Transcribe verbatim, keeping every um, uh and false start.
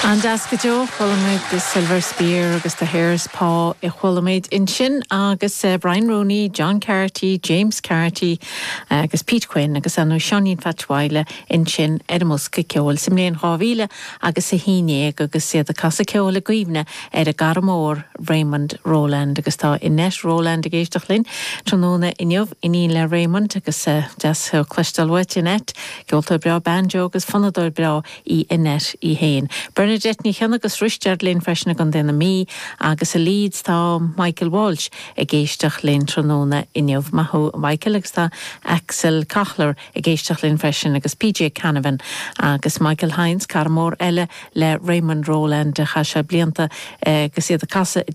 An-deas go deo chuala the Silver Spear agus the Hare's Paw a chuala muid ansin agus uh, Brian Rooney, John Carty, James Carty uh, agus Pete Quinn agus anu Seáinín Phatch Mhaidhle ansin ar an mbosca ceoil sa mbliain dhá mhíle agus a haon déag agus iad ag casadh ceoil i gcuimhne ar a gcara mór Raymond Rowland agus tá Annette Rowland ag éisteacht linn tráthnóna inniu iníon le Raymond agus uh, deas cloisteáil uait Annette, ceoltóir breá banjo agus fonnadóir breá í Annette í féin. Bernadette Ní Chionnaith agus Risteard linn freisin i gContae na Mí agus i Leeds tá Michael Walsh ag éisteacht linn tráthnóna inniu maith thú Michael agus tá Axel Kochler ag éisteacht linn freisin agus PJ Canavan agus Michael Hines cara mór eile le Raymond Rowland a chaith sé blianta agus iad ag casadh